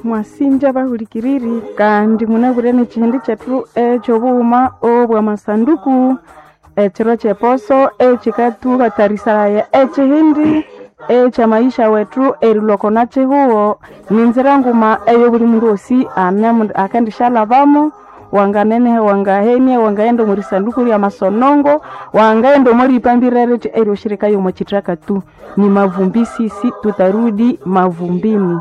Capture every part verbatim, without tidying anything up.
Mwasinja bahulikiriri kandi munabwire n'ekihindi kyethu ekyobughuma obw'amasanduku ekiro ky'eposo ekikathughatarisaya ekihindi eky'amaisha wethu erilhwa oko nakihugho ninzira nguma eyo buli mundu wosi ane- akendishalhabamo wanganeneha wangahenia wangaghenda omwa risanduku lyamasonongo wangaghenda omwa riyipambira rithi eryoshirikayo omwa kithaka tu ni mavumbi sisi tutarudi mavumbini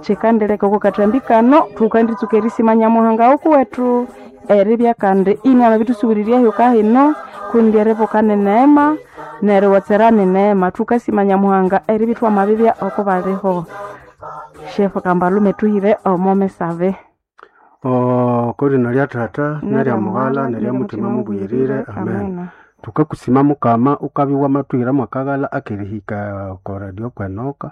kyikandireka oko kathambi kano thukanditsuka erisima Nyamuhanga wukuwethu eribya kandi inamabithusubirirya ehyoka hino kundi eribuka ni neema neriwatsera ni neema thukasima Nyamuhanga eribya ithwamabibya oko baliho shefu Kambalume thuhire omo misabe Oko lina lya Tata nerya Mughala nerya Mutima Mubuyirire amen Thukakusima Mukama ukabya iwamathuhira mwakaghalha akerihika oko radio kwenoka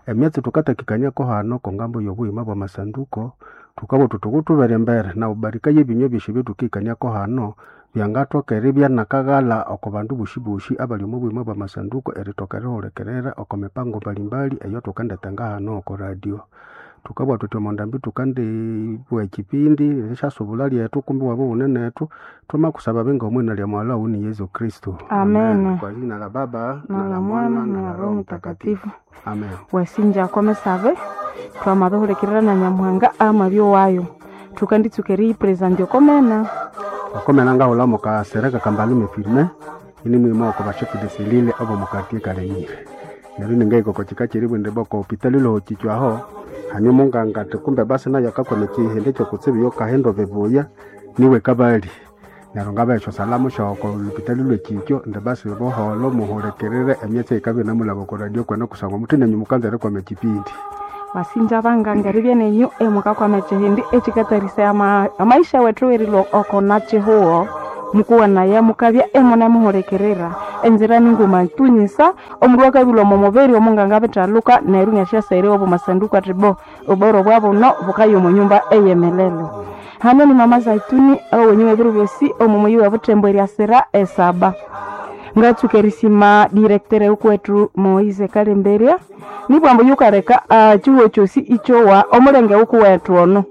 emyatsi thukatakikaniako hano okongambo y'obughima bw'amasanduko thukabugha thuthi ghutubere embere na wubarikaye ebinywa ebyosi ebyathukikaniako hano byangathoka eribya nakaghalha oko bandu boshiboshi abali omo bughima bw'amasanduko erithoka erihulikirira oko mipango mbalimbali eyathukendithenga hano oko radio thukabugha thuthi omo ndambi thukandibugha ekipindi erisyasubulha lyethu kumbi iwabya ighune nethu thwamakusaba binga omwina lya Mughalha waghu ni Yesu Kristo Amen. Kwa jina la Baba na la Mwana na la Roho Mtakatifu Amen. wasinja okomisabe twamabihulikirira na Nyamuhanga amabya wayo thukanditsuka eriyipresentya okomena Okomena ngahulha mukasereka Kambalume Firmin ini mwima oko bashefu de selile obo mukartie Kalemire neryo ningahika oko kika kyeribwende boko hopitali lohokichwaho hanyuma ungangati kumbe basi nayo akakwama ekihindi ekyokutsibu yokahinda bibuya niwe kabali neryo ngabya esyosalamu syoko lupitali lwekikyo indi basi buholho muhulikirire emyatsi eyikabya inamulhaba oko radio kwene kusangwa muthi nenyu mukanza erikwama ekipindi wasinja banganga eribya nenyu emukakwama ekihindi ekikatarisaya ama- amaisha wethu erilwa oko nakihugho mukuwanaya mukabya emunemuhulikirira enzira ninguma tunyisa omundu akabilwa omo mubiri omunganga abithaluka neryo inasyasaira obo masanduku athi bo oboro bwabuno bukaya omo nyumba eyemelelo hano ni mama Zaituni owenyu ebiro byosi omo muyi wa Butembo eryasira esaba ngatsuka erisima director wukuwethu Moise Kalemberya nibwambu yukaleka ah, chihuo kyosi ikyowa omulenge wukuwethu ono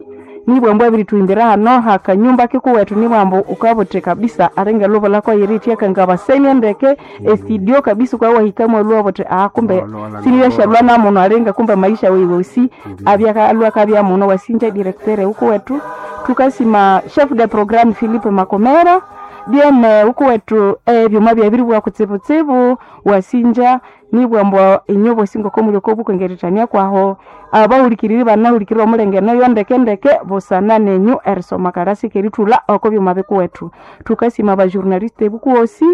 nibwambu abirithuhimbira hano hakanyumba kikuwethu nibwambu ukabuthi kabisa alinga lubulako yirithi ngabasenia ndeke estudio kabisa ukawahika mwalhuwa buthi ah kumbe Lwalwa sinilyashalwa namuno alinga kumbe maisha weiwosi abyakalwa kabya muno wasinja directeur wukuwethu thukasima chef de programme Philippe Makomera dieme wukuwethu ebyuma byabiribwa kutsibutsibu wasinja nibwambu inyo bosi ngoko muli okobukengerithania kwaho abahulikiriri banahulikirira omulenge noyo ndekendeke busana nenyu erisoma kalasi kerithulha oko byuma bikuwethu thukasima abajournaliste bukuwosi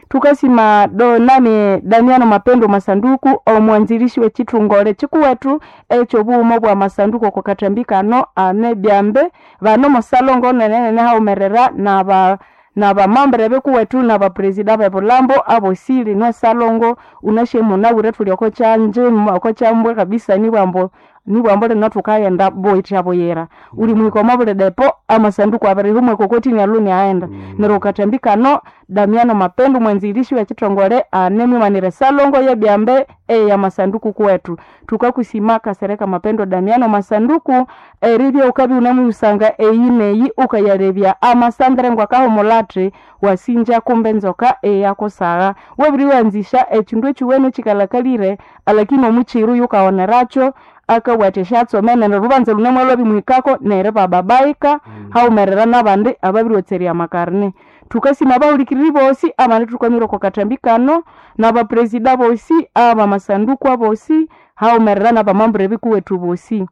tukasima do nani Damiano Mapendo Masanduku omwanzilishi w'ekithongole kikuwethu ekyobughuma bwa masanduku oko kathambi kano ane byambe bano musalongo nenene haumerera naba nabamambere bikuwethu nabapresida bebulambo abosi lino salongo unashe munabwire thuli oko kyanje oko kyambwe kabisa nibwambo nibwambo lino thukaghenda boyitha buyira uli muhika omo buli depo amasanduku abiri humwe kokotini aluni aghenda neryo okathambi kano Damiano Mapendo mwanzilishi w'ekithongole anemwimanire salongo yebyambe eyamasanduku kuwethu thukakusima Kasereka Mapendo Damiano Masanduku eribya ukabya unemuyusanga eyi neyi ukayalebya amasandere ngwakahumulathi wasinja kumbe enzoka eyakusagha wabiriwanzisha ekindu ekiwene ekikalhakalire alakini omukiru yukawonerakyo akabugha esyatsome neryo olhubanza lhune lwabimuhikako neryo ibababaika haghumerera n'abandi ababiriwotserya amakarine thukasima abahulikiriri bosi abandi thukamira oko kathambi kano n'abapresida bosi abamasanduku abosi haghumerera n'abamambure bikuwethu bosi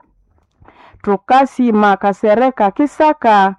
thukasima Kasereka Kisaka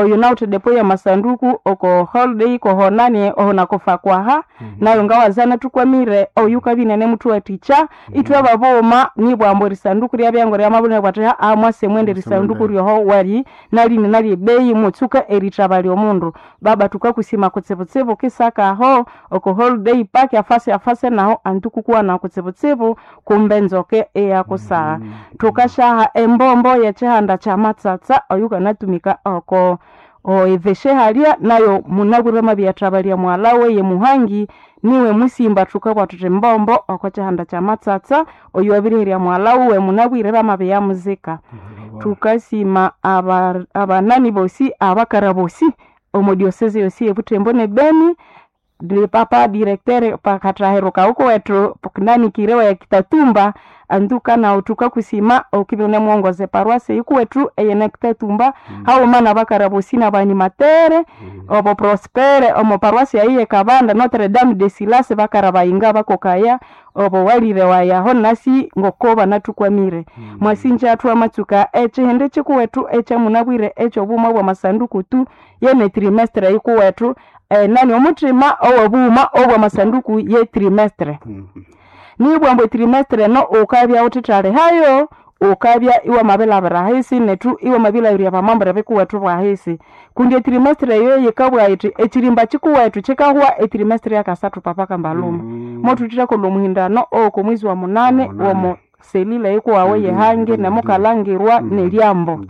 oyo nawuthe depo ya masanduku oko holiday kohonani oho nakofa kwaha nayo ngawazana thukwamire oyu kabinene muthuwathikya ithwe babughuma nibwambu erisanduku ryabyango ryamabulina bwathi aa mwase mwende erisanduku ryoho wali nalini nalyebeyi mutsuka erithabalya omundu baba thukakusima kutsibutsibu Kisaka aho oko holiday park afase afase naho anti kukuwana kutsibutsibu kumbe enzoka eyakusagha thukasyaha embombo yekyihanda kyamatsatsa oyu kanatumika oko Oeveshe halya nayo munabwire mabyathabalya mwalawe ye Muhangi niwe musimba thukabugha thuthi mbombo oko kyihanda kya Matsatsa oyo wabiriherya mwala wuwe munabwire bamabya muzika. Thukasima aba abanani bosi abakara bosi omo diocese yosi ebuthembo ne Beni di papa directeur pakathahiruka huku wethu nani kirewa ya Kitatumba anduka nawu thukakusima okibya wunemuwongoza eparuasi eyikuwethu eyene Kitatumba haghuma nabakara bosi nabanimatere obo Prospere omo paruasi eyi yekabanda Notre Dame de Silas bakara bayinga bakokaya obo walire wayaho nasi ngoko banathukwamire. Mwasinja thwamatsuka ekyihindi kyikuwethu ekyamunabwire ekyobuma bwamasanduku tu yene trimestre yikuwethu enani omuthima owobughuma obwamasanduku ye trimestre. Nibwa ambu etrimestre eno wukabya wuthithalihayo wukabya iwamabilhabira ahisi nethu iwamabilhabirirya abamambure bikuwethu bwahisi kundi etrimestre eyo yikabugha yithi ekirimba kikuwethu kikahwa etrimestre yakasathu papa kambaluma. Mothuthethakolha omuhindano owoko mwezi wa munani womo selile yikuwawu eyehangi nemukalhangirwa nelyambo.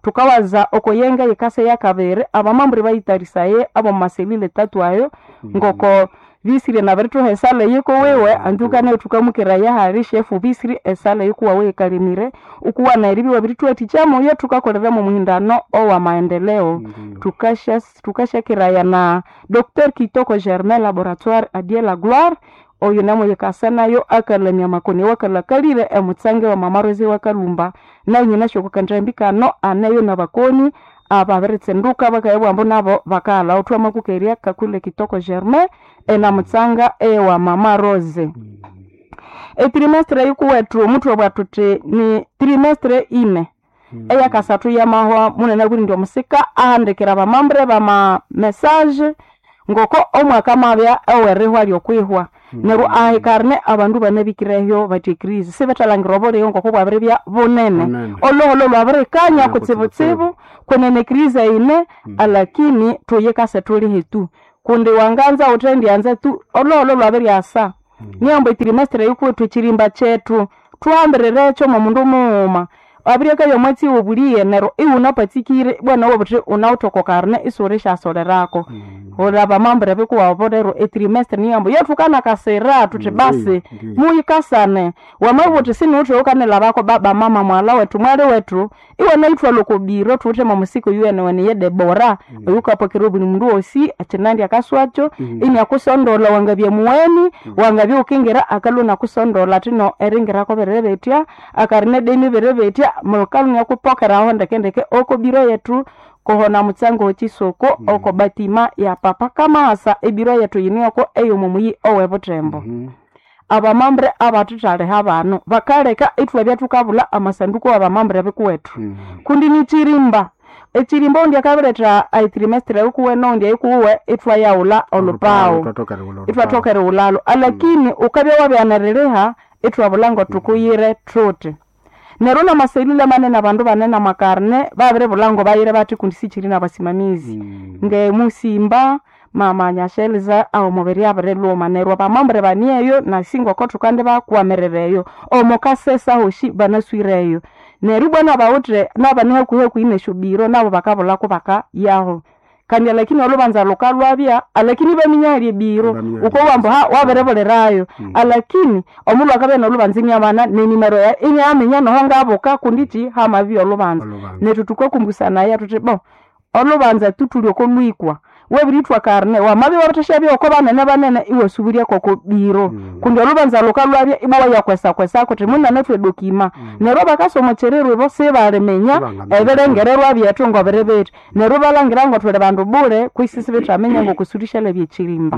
Thukawaza oko yenga yikasa eyakabiri abamambure bayitharisaye abomo selile tatu ayo ngoko bisirye nabirithuha esala eyikuwiwe anduka nayo thukamukiraya hali shefu bisiri esala eyikuwawu eyikalemire ukuwana eribya iwabirithuwathikya muyo thukakoleramu omuhindano owamaendeleo. Thukasya thukasyakiraya na Docteur Kitoko Germain laboratoire adie la gloire oyo namuyikasa nayo akalamya amakoni awakalhakalire emutsange wa mama Rose wakalhumba nayo nyinasyo oko kandambi kano aneyo nabakoni ababiritsinduka bakayabugha ambu nabo bakaghalhawo thwamakukerya Kakule Kitoko Germain enamutsanga ewa mama Rose. Etrimestre yikuwethu muthwabugha thuthi ni trimestre ine eyakasathu yamahwa munene indi omusika ahandikira abamambure bama message ngoko omwaka amabya owerihwa lyokwihwa neryo ahikarne abandu banabikireyo bathi ecrise sibethalhangira obulighe ngoko bwabiribya bunene olhuholho lwabirikanya kutsibutsibu kwenene ecrise ine alakini thuyikase thulihe tu kundi wanganza wuthendyanza tu olhuholho lwabiryasa niyambu etrimestre yikuwethu ekirimba kyethu thuhambirirekyo mwomundu mughuma wabiryakabya omwatsi wobuliye neryo iwunapatsikire bwana iwabugha wuthi wunawithe oko karne isiwulisyasolerako wulha abamambure bikuwabo rero etrimestre niyambu yothukanakasira thuthi basi muyikasane wamabugha wuthi siniwithe wukanilhabako baba mama mwalha wethu mwali wethu iwanayithwalha oko biro thuwithe mwomusika oyuwenewene ye Debora oyukapokera obuli mundu wosi ekinandi akaswakyo iniakusondolha wangabya mugheni wangabya wukingira akalhwa inakusondolha athino eringirako biribitya akarina edeni biribitya mukalhwa inakupokeraho ndekendeke oko biro yethu kuhona mutsango wekisoko oko batima ya papa kamasa ebiro yethu yinu yoko eyomo muyi owebuthembo. Abamambure abathithaliha bano bakaleka ithwabya thukabulha amasanduku wabamambure bikuwethu kundi nikirimba ekirimba ondi akabiretha etrimestre yikuwe nondi eyikuwe ithwayaghulha olhupawu ithwathoka erighulhalhu alakini wukabya wabyaneriliha ithwabulha ngothukuyire thuthi neryo namaselile manene abandu banene amakarne babiribulha ngobayire bathi kundi sikyiri nabasimamizi ngemusimba mama Nyasheliza aho omubiri abirilhuma neryo abamambure banieyo nasi ngoko thukandibakwamirereyo omukasesa hosi banaswireyo neryo ibwa nabawithe nabane hakuhi hakuhi nesyobiro nabo bakabulhako bakayaho kandi alakini olhubanza lukalhwabya alakini ibaminya hali ebiro wukowa ambu ha wabiribulirayo alakini omulhu akabya nolhubanza iniamana nenimero yayi iniaminya noho ngabuka kundi kyi hamabya olhubanza nethu thukakumbusanaya thuthi bo olhubanza tu thuli oko lwikwa wabirithwa karne wamabya iwabirithasyabyagho oko banene banene iwasubiryako oko biro kundi olhubanza lukalhwabya ibwa wayakwesakwesako uthi munene thwe dokima neryo bakasa omo kyiriro ibo sibaliminya ebirengererwa byethu ngobiri bithi neryo ibalhangira ngothuli bandu bule kwisi sibithaminya ngokusulishalhabya ekirimba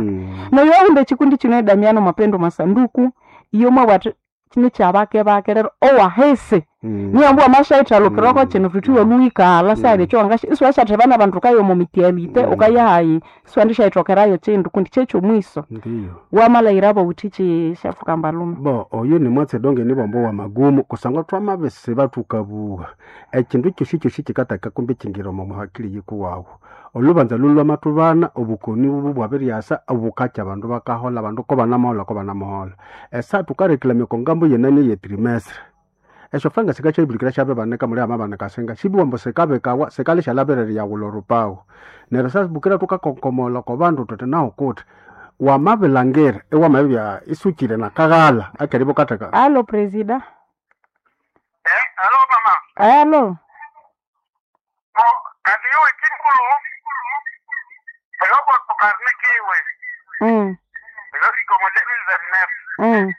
neryo wahunda ekikundi kino edamiano mapendo masanduku iyo mwabugha athi kino kyabake bake rero owahisi niyambu wamasyayithalukirako kino thuthi iwalhuwikalha sihali ekyowangasya isiwasyatheba nabandu wukaya omo mitialite wukayahayi isiwandisyayithokerayo kyindu kundi kyekyomwiso Ndiyo. wamalhayirabo wuthi kyi shefu kambalume Bo oyo ni mwatsi donge ni bombo wa magumu kusangwa twamabisiba thukabuha ekindu kyosi kyosi kikataka kumbi kingira omo muhakili yikuwawu olubanza lulwamathubana obukoni bubu bwabiryasa obukakya abandu bakahola abandu ko banamahola ko banamahola esa thukarekilamya oko ngambo yenani ye trimestre Esyo franga sikachabirikira syabibanika muli amabanika singa sibiwambo sikabikawa sikali syalabirira yawula orupawu. Neryo sasibukira tukakonkomola oko bandu tuthi nahu kuti wamabilangira iwamabibya isukire nakaghala akeriba ukatheka. Alo presida. Eh, alo mama. Alo. Bo, kandi iwe kinkulu, eloko tukarne kiwe, Mm. eloko mojeni za Mm.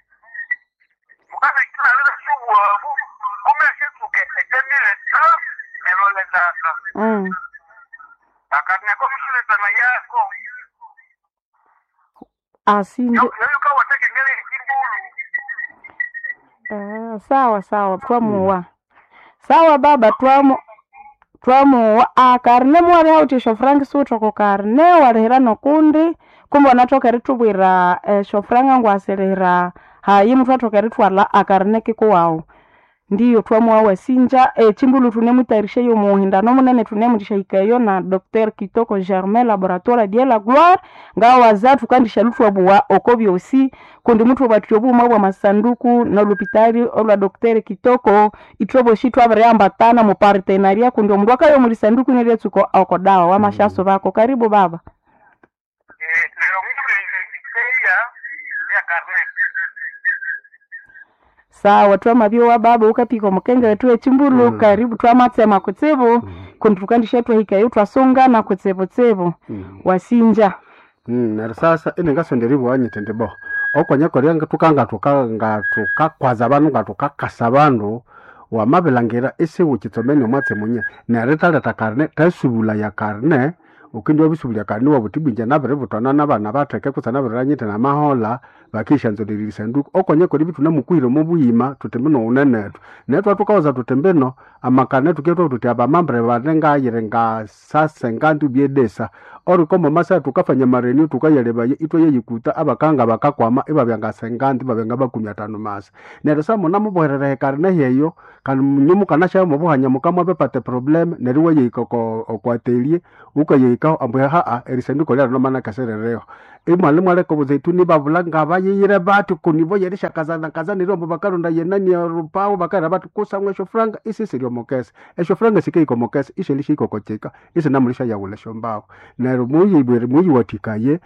Mukana kila lila suwa, kume shituke, etemile ta, elole tata. Mm. Akarne komisile tana yako. Asinje. Yo, yo kawa teke ngele kimbulu. Ah, sawa sawa twamuwa. Sawa baba twamu twamuwa akarne mwari hauti frank sutoko karne warihira nokundi kumbe wanathoka eritubwira esyo franga ngwasirira hayi muthu athoka eritwala akarne kikuwawu ndiyo twamuwa wasinja echimbulu tunemutayarisha yo muhindano munene tunemutishahikayo na Dr Kitoko Germain laboratoire de la gloire ngawaza tukandisha lutwabuwa oko byosi kundi muthu batyo obuuma bwa masanduku na lupitali olwa Dr Kitoko ithoboshi twabiriambatana mu partenariat kundi omundu akayo muli sanduku neriatsuko oko dawa wamashaso bako karibu baba. Eh, lero mimi niteya ya karne. Sawa twamabyowa baba ukapika omukenge wetu echimbulu Mm. karibu twamatsema kutsibu kundi tukandisha twahikayo twasungana kutsibutsibu Mm. wasinja. Mm, neryo sasa iningasonda eribugha nyithi indi bo okonyakorya tukanga tukanga tukakwaza bandu nga tukakasa bandu wamabilangira isiwukitsomene omwatsi munye neryo rithaleta karne tasubulaya karne ukindi wabisubulya karne wabuthi bwinja nabiributwana nabana batheke kutse nabiriranyithe namahola bakishanzolera erisanduku okonyakorya ibithunamukuhira omo buyima thuthi mbino wunenethu neryo thwathukawaza thuthi mbino amakarne tuketwa thuthi abamambre bane ngayiri ngasase ngandu byedesa orikomo masa tukafanya marenio tukayalebaye itwayeyikuta abakanga bakakwama ibabya ngasenganti ibabya ngabakumi atano masa neryo sa munamuboherera ekarne heyo kandi nyomukanasya mubuhanya mukamwabepata problem neryo wayehika oko okwatelie ukayehikaho ambu haa erisanduko lyarino manakaserereho imwali mwaleka obuzeituni babula ngabayiyire bati kunivo yerishakazana kazanire ombu bakaronda yenani orupawu bakaira bati kusamwa esyo franga isisiri omukesa esyo franga sikahika omukesa ishelishihika okochika isinamulisha yawula esyombahu neryo muyibwere muyiwathikaye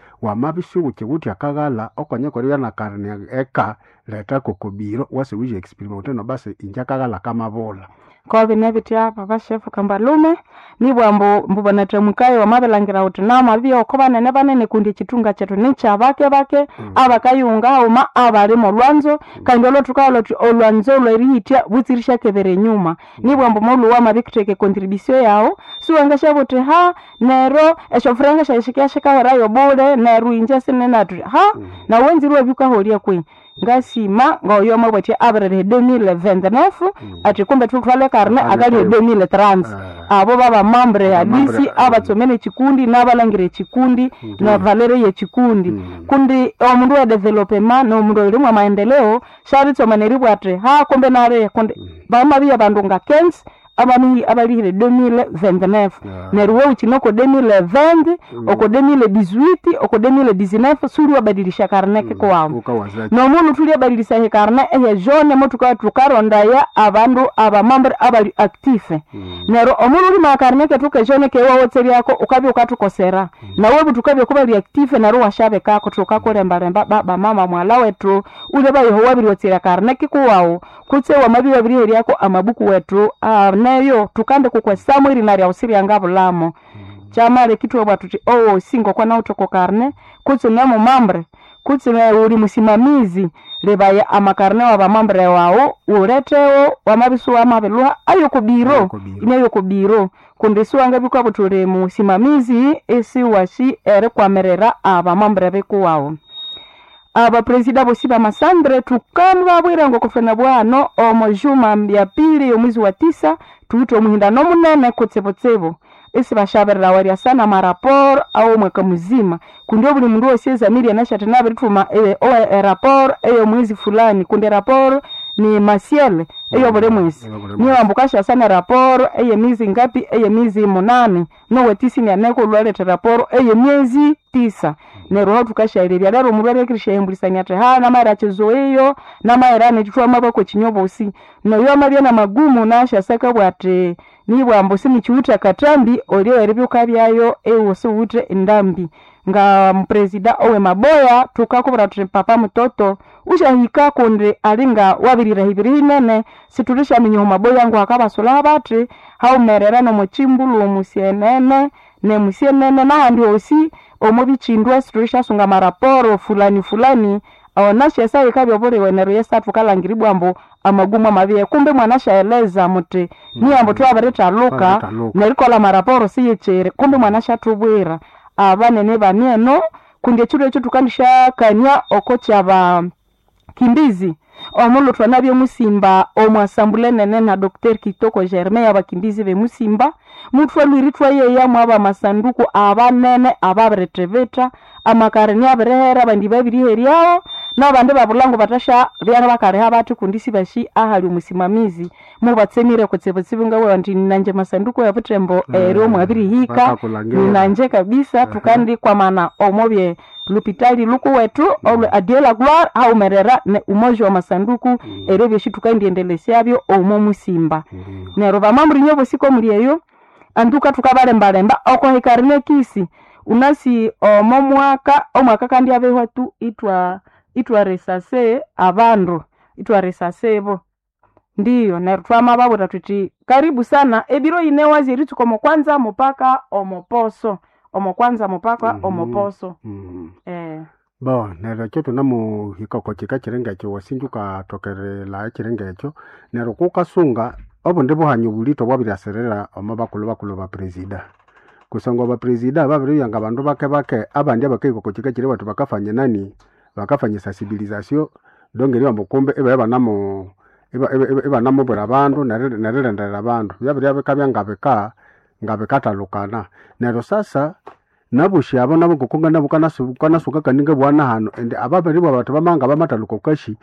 wamabisuwukiwuthi akaghala okonyakorya nakarne eka leta kokobiro wase wije experiment no basi inje akaghala kamabula. Kobi nebitya papa shefu kambalume nibwa mbu mbu banathamukayo wamabilangira uthi namabibya oko banene banene kundi echitunga kyethu nikyabake bake Mm. abakayunga haghuma abali molwanzo kandi olwathukalwa thuthi olwanzo lwerihithya butsirishyakebera enyuma nibwa mbu molhuwa wamabikutheka econtribution yawu siwangashyabugha uthi ha neryo esyofuranga syayi shikahwerayo bule neryo inje sininathu ha Mm. nawu wanzire iwabya wukaholya kwehi ngasima ngoyo mwabwathya abiririha deux mille vingt-neuf athi kumbe thuthwale karne akali deux mille trente abo babamambre hadisi abatsomene echikundi n'abalangira echikundi na valere yechikundi kundi omundu wa developema nomundu oyirimwa maendeleo syabitsoma neribwa athi ha kumbe nali kundi bamabya bandu nga quinze abami abalihire deux mille vingt-neuf neryo wawukine oko deux mille vingt oko deux mille dix-huit oko deux mille dix-neuf suliwabadilisha karne kikuwawu ukawazaki nomunu thulyabadilisya ekarne eye jaune motuka tukarondaya abandu abamambre abali active neryo omunu ulima akarne kethu ke jaune kewawotseryako ukabya ukathukosera nawe buthukabya kubali active neryo washabekako thukakulembalemba baba mama mwala wethu ulya bayoho wabiriwotsera karne kikuwawu kutse wamabya wabiriheryako amabuku wethu ah, neyo tukande kukwesamu erina ryawu siryangabulamo kyamale kitwabwa thuthi owosi ngokwana uthoko karne kutse nemumambre kutse uli musimamizi lebaya amakarne wa bamambre wawu ulethewo wamabya wamabilhuha ayokubiro Ayokubiro. inayokubiro kundi siwangabikwa buthi uli musimamizi isiwashi erikwamirira abamambre bikuwawu abapresida bosi bamasandre tukamubabwira ngokufena bwano omo juma ya pili yomwezi wa tisa tuwithe omuhindano munene kutsibutsibu isibashabirira warya sana maraporo awo mwaka muzima kundi obuli mundu wosi ezamiri anashathi nabirithuma e- owe- eraporo eyomwezi fulani kundi eraporo ni masiele eyo buli mwesi niyo ambukashasa ne raporo eye miezi ngapi eye miezi munani nowetisi nyaneko lwaleta raporo eye miezi tisa neryo aho tukashalerya lero omulwere akirishahembulisania ati ha namaira chizoeyo namaira nechithwa mabako chinyobosi noyo amabya na magumu nashasaka bwati nibwambu sinichiwithe akatambi olyo eribya byayo ewo siwithe endambi nga mupresida owe maboya tukakubwira thuthi papa mutoto usyahika kundi alinga wabiriraha hinene situlishaminya omu maboya ngu hakabasulaho bathi haumerera nomuchimbulu omusyenene nemusyenene nahandi hosi omo bichindwa situlishasunga maraporo fulani fulani onashesa ikabya obuliwe neryo yesa thukalangiribwa ambu amagumu amabiye kumbe mwanashaeleza muthi niyambu thwabirithaluka Twabiritaluka. nerikolha maraporo siyichiri kumbe mwanashathubwira abanene bani eno kundi ekiro ekyo thukandishakania oko kyaba kimbizi omulhu thwanabya musimba omwasambule nene na Dr Kitoko Germain abakimbizi bemusimba muthwalwiri thwayeya mwaba amasanduku abanene ababirithibitha amakareni abirihera abandi babiriheryawo nabandi babulhango bathasha byana bakaliha bathi kundi sibashi ahali omusimamizi mubatsemire kutsibutsibu ngawe andi nanje masanduku yabuthembo eryo mwabirihika Bakakulangira. ninanje kabisa tukandikwamana omobye lupitali lukuwethu olwe adiela gloire haumerera ne umoja wa masanduku eryo byosi tukandiendelesyabyo omo musimba neryo vamamurinya bosiko muli eyo anduka tukabalembalemba okohikarine kisi unasi omo mwaka omwaka kandi abehwa tu itwa itwaresase abandu itwaresase bo ndiyo neryo twamababwira thuthi karibu sana ebiro ine wazi eritsuka omo kwanza mupaka omoposo omo kwanza mupaka Mhm. omoposo Mm. eh. Bo neryo ekyo thunamuhika oko kika kiringa ekyo wasinja ukathokerela ekiringa ekyo neryo kukasunga obundi buhanyi obulito bwabiryasirira omo bakulhu bakulhu ba presida kusangwa ba presida babiribya nga bandu bake bake abandi abakahika oko kika kiri bathu bakafanya nani bakafanya sensibilisation donc eribamba kumbe ibabya banamu iba- iba- iba- ibanamubwira abandu neri- nerilindirira abandu byabirya bikabya ngabika ngabikathalukana neryo sasa nabosi abo nabo ngoku nabo kanasuka kaninga bwana hano indi ababiribwa bathi bamanga bamathaluka okashi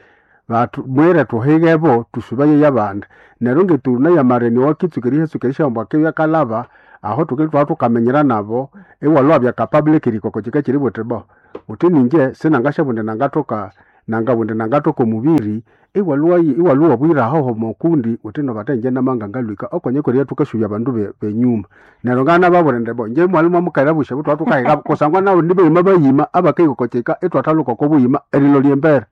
bathu mwire thuhigebo thusubaye yabandi neryo ngeturuna yamareni wakitsuka erihetsuka erishamba akibya kalaba aho thukili thwaba thukamenyera nabo iwalwabya capable erikoko kika kiri buthi bo uthi ninje sinangashabundi nangathoka nangabundi nangathoka omubiri iwalwa iwalwa bwira ahoho mokundi uthi nobatha inje namanga ngalwika okonyekorya thukasubya abandu be- benyuma neryo ngana babulinde bo nje mwalimu amukaira busya butwa thukahiga kusangwa nabo ndibayima bayima abakaikokokeka itwathaluka okobuyima erilo lyembere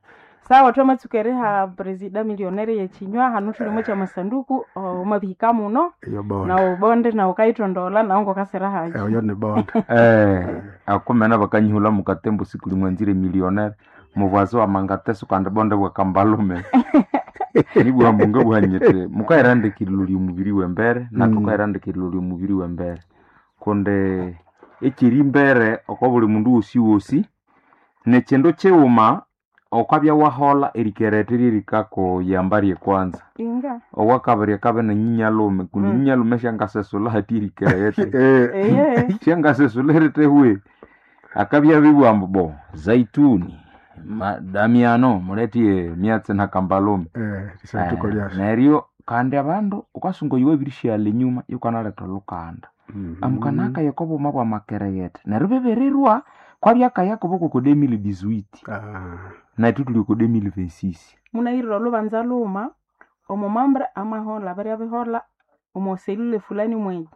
sawa twamatsuka eriha presida millionaire yechinywa hanu thulimo kya masanduku omabihika muno eyo bonde na ubonde na ukaithondola nawo ngokasira hayi eyo ni bonde eh akumena bakanyihula mukatembo siku limwe nzire millionaire muvwazi wa mangateso kandi bonde bwakambalume nibwa munga bwanyete mukairandikirilo lyomubiri wembere na Mm. tukairandikirilo lyomubiri wembere kundi ekiri mbere oko buli mundu wosi wosi nekindu kighuma okwabya wahola erikerete lyerikakuyamba lyekwanza inga owakabiri akabe nenyinyalhume kundi Mm. nyinyalhume syangasesula hati erikerete Eh, eye syangasesula eritehwe akabya bibwa ambu bo zaituni ma- damiano muletie myatsi nakambalume eh, lisanduku Eh, lyasyo neryo kandi abandu ukasunga oyu wabirishyala enyuma yukanaleta olukanda Mhm. amukanaka yokobuma bwa makeregete neryo bibirirwa kwabyakaya koboko ko deux mille dix-huit Ah, nethu tuli ko deux mille vingt-six munahirira olubanza luma omumambra amahola birya bihola omoselule fulani mweyi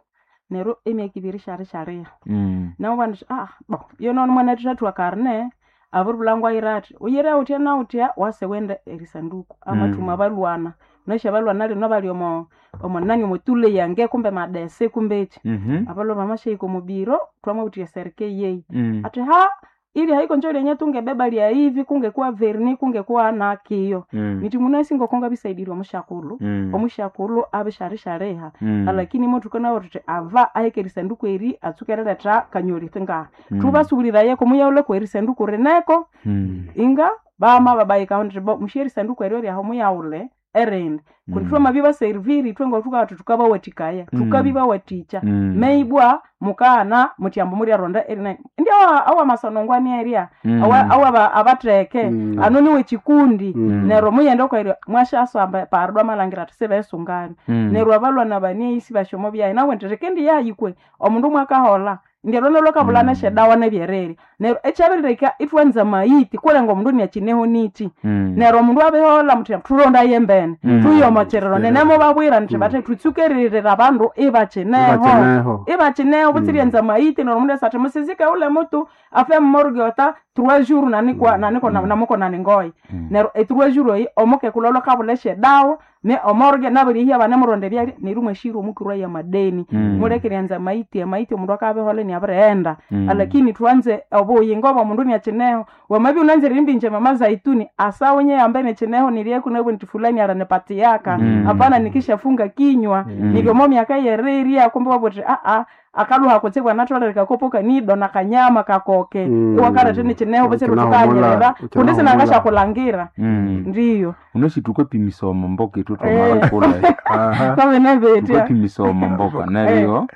neryo emyaka ibiri syari syariha mm. nabo bandu ah bo yonono mwana thathwa karne abiribulhango ayira athi uyire utya na utya wase wende erisanduku amathuma Mm. balwana nasya balwana lino bali omo omonani omotule yange kumbe madese kumbe eki Mhm. abalwa bamashahika omubiro twamawutya serike yeyi Mm. ati ha ili haiko njo lenye tungebeba lya hivi kungekuwa verni kungekuwa na kiyo Mm. niti munasi ngokonga bisaidiri omushakulu Mm. omushakulu abisharishareha Mm. alakini mo tukanawa tuti ava aheka erisanduku eri atsuka eriletha kanyoli nga Mm. thubasuulirayeko muyauleko erisanduku rineko Mm. inga bama babayikaho nti bo mushe erisanduku eryo ryaho muyaule erindi kundi twamabibaserviri ithwe ngothukabati tukabawathikaya tukabibawathikya Mm. meibwa mukana mutyambo mulyaronda erinani ndi awa- awamasonongwani erya Mm. awa awa abatheke Mm. ano niwe kikundi Mm. neryo muyende okwairya mwashasamba pardo amalangira ati sibesungana Mm. neryo abalwana baneisi basyomo byayi nawe nti rikendi yayikwe omundu mwakahola ndyalwana lwakabulana esyedawa nebyererya neryo ekyabirileka ithwanza mayiti kulenga omundu niakineho niti Mm. neryo omundu abihola muthi thulondaye embene Mm. thuyomokyerero nenemubabwira nthi bathe thutsukeririra abandu ibakineho Ibakineho. ibakineho butsiryenza maiti neryo omundu asa athi musizike ule mutu afe mumorgue ota trois jours nanikwa naniko namuko naningoyi neryo e trois jours eyi omukekulu olwakabula esyedawa ne omorgue nabirihya banemuronda ebyalya neryo mwashira omukirwa ya madeni Mm. mulekeryanza maiti amaiti omundu akabihola niabirighenda Mm. lakini thwanze obuyingo bwomundu niakineho wamabya unanzire imbinje mama zaituni asawenye yambe nikineho nilyeku nabwe nti fulani aranipatiyaka Mm. hapana nikishafunga kinywa Mm. nilyomo myaka yerirya kumbe wabuthi aa akaluha kutsibwa natholere kakopo kanido na kanyama kakoke Mm. iwakarete nikineho butsiri Ukinahomola, tukanyerera kundi ukinahomola. sinangashakulangira Mm. ndiyo unoshi tukapimisa omomboka ithu twamalakula Aha. kwamenebetya tukapimisa omomboka neryo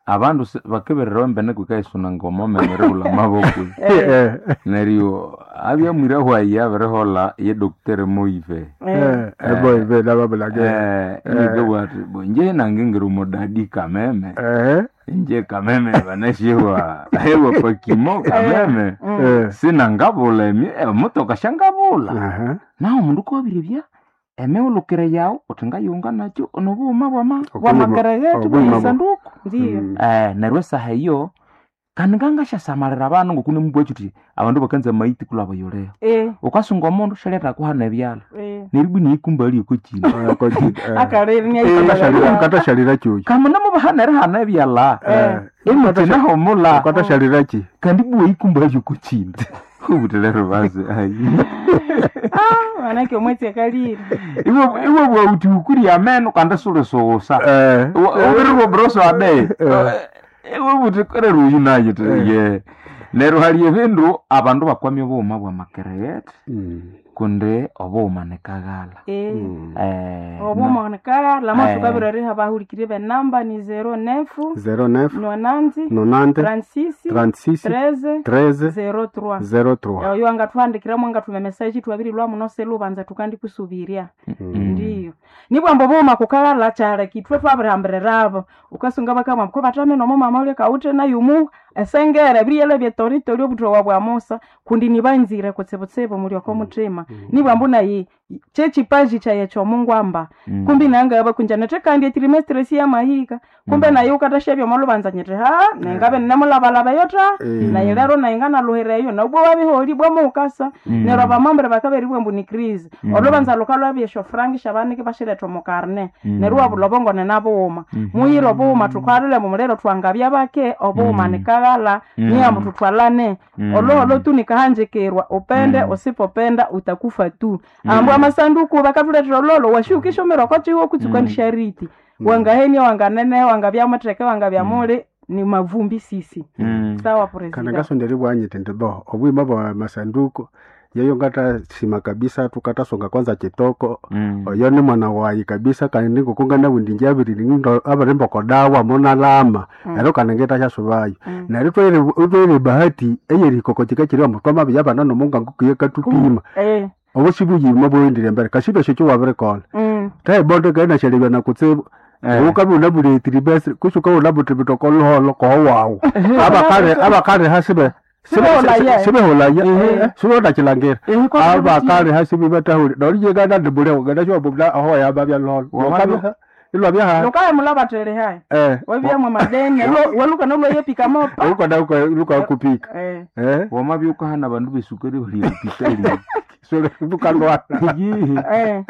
abandu se- bakebererawa embene kwikaisuna ngoma memere maboko Eh, neryo abyamwira hwayi abirihola ye docteur Moive eh, eh, boy, be, nababulage. eh inigabwa ati bo nje nange ngiri omudadi kameme Eh, nje kameme banashiwa hewa pakimo kameme eh, sinangabula emi emotoka shangabula aha. naho omundu kobirebya emiwulukire yawu uthi ngayunga nakyo nobughuma bwama Obuyima- bwamakeregeti obuyima bu- bwesanduku ndiyo Mm. eh neryo esaha eyo kandi ngangasyasamalira abandu ngokune mubwachu uthi abandu bakanza maiti kulaba yoleyo Eh, ukasunga omundu syaleta kuhana ebyalha eh. neryo niyikumba lyokokina Eh, koji- eh. Akariri Ukatashalira- ukatashalira chuchi kamuna mubahana erihana ebyalha Eh, imutinahomula ukatashalira chi kandi buwa ikumba lyokokina ubuthi lero basi ayi manake omwetsi akalire iwe iwe bwauthi ukurya ameno kandi sulisusa Eh, ubiribwa broso ade iwe buthi korera uyu naye ti ye neryo hali ebindu abandu bakwamya obughuma bwa makereyete mm, kundi obughuma nikaghala Eh. mm. Eh, obumonikala Eh. lamasuka riha bahulikire benamba ni zero nefu zero neuf nonanzi nonante trente-six trente-six treize treize zero trois zero trois oyo angathuhandikiramu angathuma emeseji thwabirilwa muno selubanza tukandikusubiria Mm. ndiyo nibwambo bughuma kukaghala kyaleka ithwe twabirihambiriraabo ukasunga bakamwa ko batame nomo mama ulya kawuthe nayumu esengere biriyela byetoritori obuthowa bwa musa kundi nibanzire kutsibutsibu muli oko muthima nibwambo nayi kyekipaji kyaye kyomungwamba Mm. kumbi nangaba kunja nethe kandi etrimestre siyamahika kumbe naye ukatashabya omolubanza nyiti ha nengabe nemulabalaba eyo ta Eh. naye lero naye nganaluhira eyo nabwo wabiholi bwamuukasa Mm. neryo abamambure bakaberibwa mbu ni crise Mm. olubanza lukalwabya esyofrangi syabaniki bashiretha omu karne Mm. neryo wabula obongone nabughuma Mhm. muyire obughuma thukalile mumuliro twangabya bake obughuma Mm. nikaghala Mm. niyamu thuthwalane Mm. oloholo tu nikahanjikirwa upende Mm. usipopenda utakufa tu Mm. ambu amasanduku bakathuletera ololo washiukishomera okochiwo kutsuka Mm. ndishariti wangahenia wanganene wangabya mutheke wangabya muli ni mavumbi sisi Mm. sawa kana president ngasonderi bwanyite ndi bo obwima bwa masanduku yeyo ngatasima kabisa tukatasonga kwanza chitoko Mm. oyo ni mwana wayi kabisa kandi ndingukunga nawundi njabiri abarimba dawa monalama ero kana ngetasha Mm. neryo twere twere bahati eyerikoko chikachiri mutwama yabana nomunga ngukuye katupima eh obusi buyima bwendire mbere kashibe shekyo wabirikola mm. taibonde kaina shalibya nakutsibu Eh. ukabi unabulethiri besi kusuka unabuthi bitoko luholo koho wawu abakale abakale hasibe Sibeholaya. sibeholaya sibehonachilangira Eh, kwa abakale hasibe batahuli nolijegana ndibule gana shwabubula aho yababya luholo Wamabya- ilwabya lukaye mulabathele hayi eh wabyamwe madeni waluka nolwayepika mopa ukona luka kupika eh eh wamabya ukahana abandu besukari bali epitali so lukalwala eh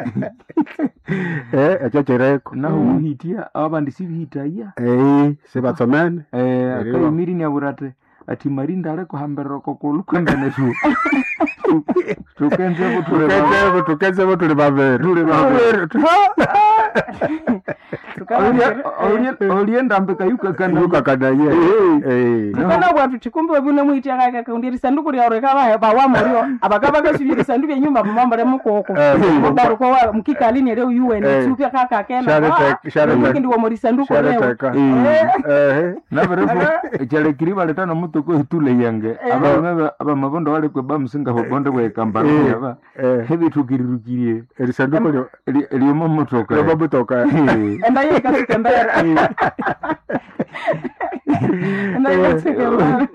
eh ekyo kireko naho buhitia abandi sibihitaya eh sibatsomene eh Eriwa. akayimiri niabura ati Ati marinda aleko hambirira kokulu kwembene tu tukenze butule Tukenzevo tukenzevo tuli vaviri Tuli vaviri. Tukababwira- oliendambika yukakana yukakanaye Eh. tukana bwatu tikumbi wabune mwitiakaka kundi risanduku lyawe rikaba bawamurio abakaba kasubya risandu byenyumba mumambure mukoko Eh. mubaruko wa mkikalini leo yuwe Eh. tsupya kaka kena Sharete- sharete- ndi wa risanduku leo shareteka Eh. ehe nabirefu ekyalekiri baleta nomutuku etule yange abalume abamabondo balekwe bamusinga bobonde bwekambara Eh. aba Eh. ebithukirirukirye erisanduku lyo lyomomotoka lyomamutoka enda yekasuka mbere enda yekasuka mbere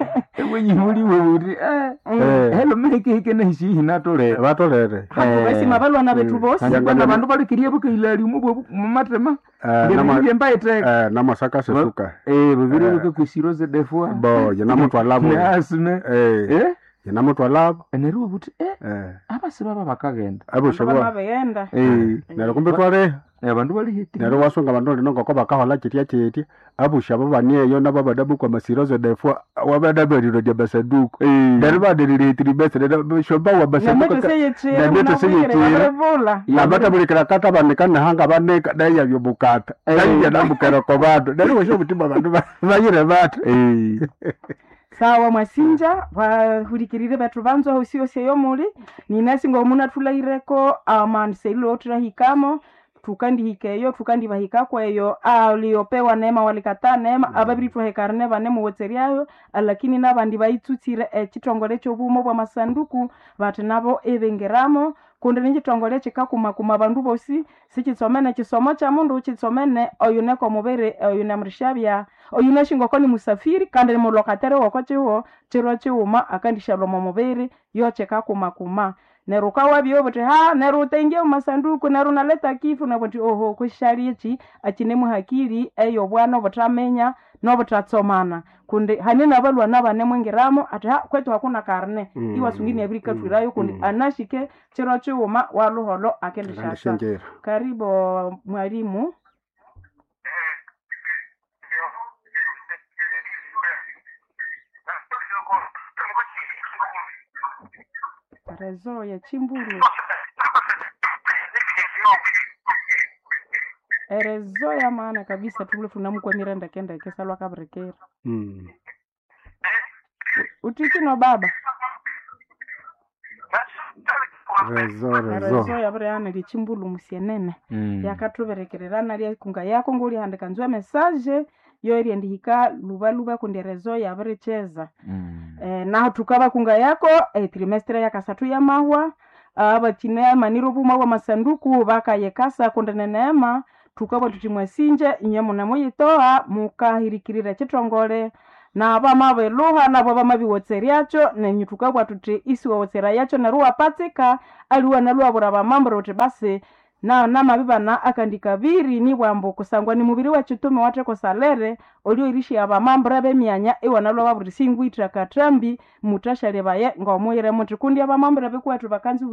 wenyimuliwe buti Eh. helo mehikehike nehisihi natolere vatolere basima balwana bethu bosi kandi abandu balekirie bukailali umubwe mumatema Eh, nama- ngebyembaiteka Eh, namasaka sesuka babiri bakakwisiroze defua bo yenamutwalavo neasime Eh, yenamutwalavo neryo buti eh, Eh, abasi baba bakagenda abusha bamabeyenda neryo kumbe twaleha abandu balihiti neryo wasunga abandu lino ngoko bakahola kitya kitya abusha abo banieyo nabo badabukwa masirozo defua wabadaberiro dya basanduku neryo baderire neryo shomba wa basanduku namete Namete seyechira. seyechira nabatabulikira kata banika nehanga banika nayabya bukata nayibya nambukera ko bandu neryo wesha obutima bandu ba- bayire bata sawa mwasinja vahulikirire vethu vanzwa hosi eyo muli ninasi ngomunatulaireko amanseilo otirahikamo tukandihika eyo tukandivahikako eyo aliopewa neema walikataa neema ababiri twahekarane vane muwotseryayo lakini navandi vaitsutsire echitongole chobumo bwa masanduku vati navo ivingeramo kundi ni chitongole chikakumakuma vandu vosi sichitsomene chisomo cha mundu chitsomene oyu neko muviri oyu nemurishavya oyu neshingoko ni musafiri kandi ni mulokatere woko chiwo chiro chiuma akandishaloma muviri yo chikakumakuma neryo ukawabya buti ha neryo utaingia mumasanduku neryo unaleta kifu nabuti oho kushali ichi achine muhakili eyo bwana obutaminya nobutatsomana kundi hane nabalwana bane mwingiramo ati ha kwetu hakuna karne Mm. iwasungini abiri katwirayo kundi Mm. anashike chiro chiuma waluholo akendishasa akandishenjera karibu mwalimu rezo ya chimbulu erezo ya maana kabisa tule tunamukwamira ndekendeke salwa kaburekera Mm. utichino baba rezo rezo rezo yabureana lichimbulu musienene yakathuberekererana lyakunga yako ngulihandika nzwa mesaje yo eriendihika lubaluba kundi rezo yabiricheza eh, naho tukaba kunga yako eh, trimestre yakasathu yamahwa abakine maniro obuma bwa masanduku bakayekasa kundi neneema tukabwa tuti mwasinje inye mune muyitoa mukahirikirira chitongole nabamabiluha nabo bamabiwotseryacho nenyu tukabwa tuti isiwawotsera yacho neryo wapatsika aliwa naluwabura bamambura uti basi na namabibana akandi kabiri nibwambu kusangwa ni mubiri wechitume wathekosalere olioirishia abamambura bemyanya iwanalwa baburi singwitha kathambi mutashalyebaye ngomuyire muthi kundi abamambura bikuwethu bakanzi